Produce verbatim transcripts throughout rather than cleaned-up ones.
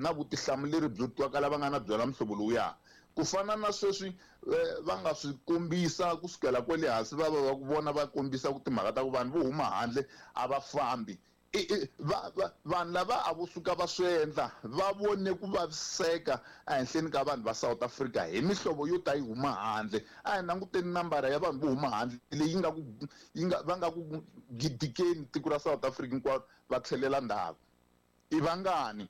na vutihlamuleri byo twakala va nga na byona muhlovo lowuya. Ku fana na sweswi va nga swi kombisa kusukela kwale hansi va va ku vona va kombisa ku timhaka ta ku vanhu vo huma handle a va fambi. Vanhu lava a vo suka va swi endla va vone ku vaviseka ehenhleni ka vanhu va South Africa hi mihlovo yo ta yi huma handle. A hi languteni nambara ya vanhu vo huma handle leyi nga ku yi nga va nga ku gidikeni tiko ra South Africa hinkwaro va tlhelela ndzhaku. I vangani?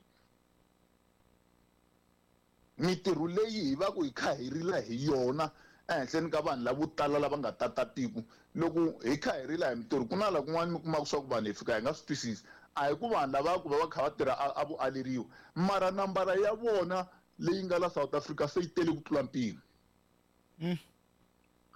Mitirho leyi hi va ku hi kha hi rila hi yona ehenhleni ka vanhu lavo tala lava nga tata tiko. Loko hi kha hi rila hi mitirho ku na la kun'wana mi kumaka swa ku vanhu hi fika hi nga swi twisisi. A hi ku vanhu lava ku va va kha va tirha a vo aleriwa, mara nambara ya vona leyi nga la South Africa se yi tele ku tlula mpimo.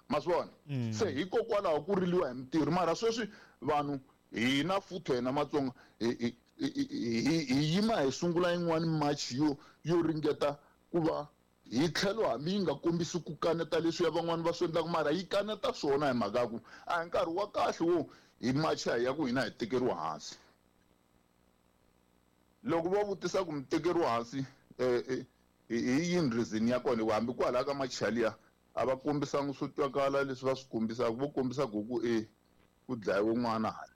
Ma swi vona? Se hikokwalaho ku riliwa hi mitirho. Mara sweswi vanhu hina futhi hina Matsonga hi hi yima hi sungula yin'wani march yo yo ringeta ku va hi tlhelo hambi yi nga kombisi ku kaneta leswi ya van'wani va swi endlaka, mara yi kaneta swona hi mhaka ku a hi nkarhi wa kahle wo hi macha hi ya ku hina hi tekeriwa hansi. Loko va vutisa ku mi tekeriwa hansi hi yini reason ya kona, hambi kwalaya ka macha liya a va kombisanga swo twakala leswi va swi kombisaka, vo kombisa ku ku e ku dlayiwe n'wana hala.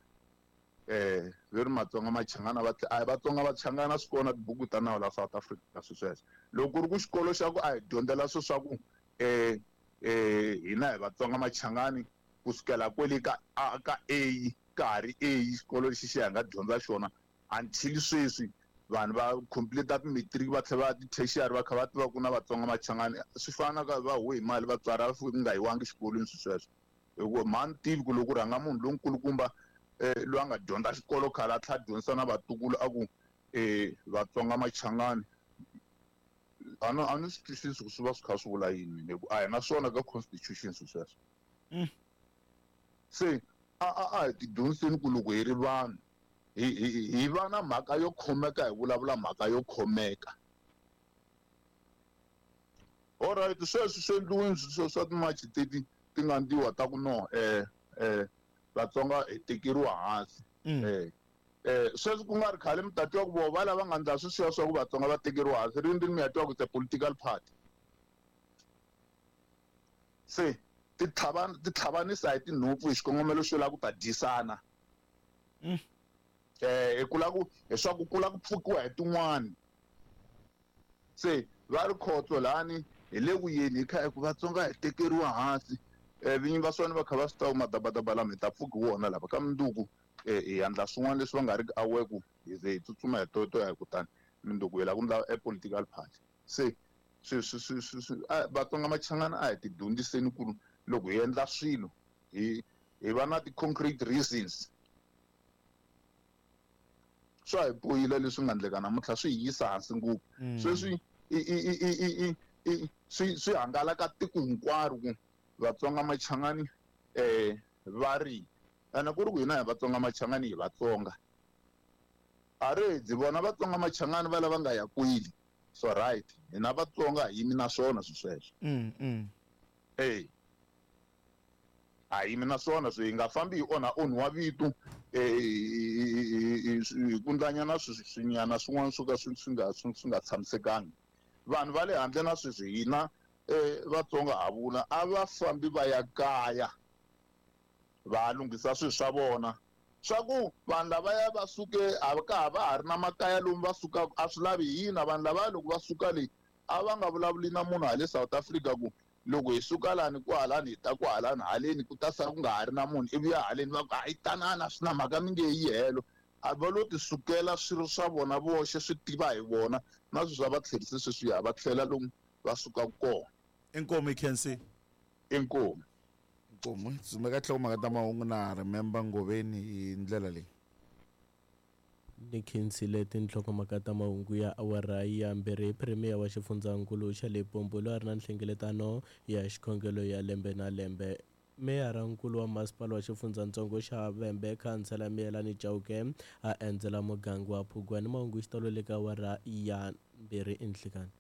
Eh ve ri Matsonga Machangana va a Vatsonga Vachangana swi kona tibuku ta nawu la South Africa swi sweswo. Loko ku ri ku xikolo xa ku a hi dyondzela swo swa ku eh eh hina hi Vatsonga Machangani kusukela kwele ka a ka A ka ha ri A xikolo lexi xi hi nga dyondza xona until sweswi vanhu va complete ti-matric va tlhela va ti-tertiary va kha va tiva ku na Vatsonga Machangani swi fana ka va huwe hi mali vatswari a va fiki ku nga yiwangi xikolweni swi sweswo. Hikuva mhani tivi ku loko rhanga munhu lonkulukumba eh loyi a nga dyondza xikolo khale a tlhela dyondzisa na vatukulu a ku eh Vatsonga Machangani a no a ni swi twisisi ku swi va swi kha swi vula yini hi ku a hi na swona ka constitution swi sweswo. Se a a a hi tidyondziseni ku loko hi ri vanhu hi hi hi va na mhaka yo khomeka hi vulavula mhaka yo khomeka. Alright, sweswi swi endliwini swi swa timachi teti ti nga ndliwa ta ku no eh eh Vatsonga hi tekeriwa hansi. Eh eh sweswi ku nga ri khale mi ta twa ku vo va lava nga ndla sweswiya swa ku Vatsonga va tekeriwa hansi rini mi ya twa ku it's a political party. Se ti tlhavana ti tlhavanisa hi tinhompfu hi xikongomelo xo lava ku ta dyisana. Eh hi kula ku hi swa ku kula ku pfukiwa hi tin'wani. Se va ri khotso lani hi le ku yeni hi kha hi ku Vatsonga hi tekeriwa hansi. Eh vinyi va swona va kha va swi tiva madabadaba lama hi ta pfuki wona lava ka mundzuku eh hi endla swin'wana leswi va nga ri ki aware ku hi ze hi tsutsuma hi toyitoya hi kutani mundzuku hi lava ku endla e political party. Se swi swi swi swi swi Vatsonga Machangana a hi tidyondziseni ku loko hi endla swilo hi hi va na ti-concrete reasons. Swa hi bohile leswi nga endleka namuntlha swi hi yisa hansi ngopfu. Sweswi i i i i i swi swi hangalaka tiko hinkwaro ku Vatsonga Machangani eh va ri ene ku ri ku hina hi Vatsonga Machangani hi Vatsonga a ri dzi vona Vatsonga Machangani va lava nga ya kwini so right hina Vatsonga hi yimi na swona swi sweswo. Eh a yimi na swona swi hi nga fambi hi onha onhiwa vito eh hi kundlanyana swinyana swin'wana swo ka swi swi nga swi nga tshamisekangi. Vanhu va le handle na sweswi hina eh Vatsonga ha vula a va fambi va ya kaya va lunghisa swilo swa vona swa ku vanhu lavaya va suke a ka ha va ha ri na makaya lomu va sukaka a swi lavi hina vanhu lavaya loko va suka le a va nga vulavuli na munhu hale South Africa ku loko hi suka lani kwahalani hi ta kwahalani haleni ku ta sala ku nga ha ri na munhu ivi ya haleni va ku hayi tanana swi na mhaka mi nge yi helo. A va lo ti sukela swilo swa vona voxe swi tiva hi vona na sweswi swa va tlherise sweswiya va tlhela lomu va sukaka kona. Inkomu i khensi. Inkomu. Inkomu dzumeka tlhelo ta mahungu na remember Ngoveni hi ndlela leyi. Ni khensile tinhlokomhaka ta mahungu ya awara ya mbirhi. Premier wa xifundzankulu xa Limpopo loyi a ri na nhlengeletano ya xikhongelo ya lembe na lembe. Meyara nkulu wa masipala wa xifundzatsongo xa Vhembe khansela Miyelani Chauke a endzela muganga wa Phugwani. Mahungu xitalo le ka awara ya mbirhi enhlikani.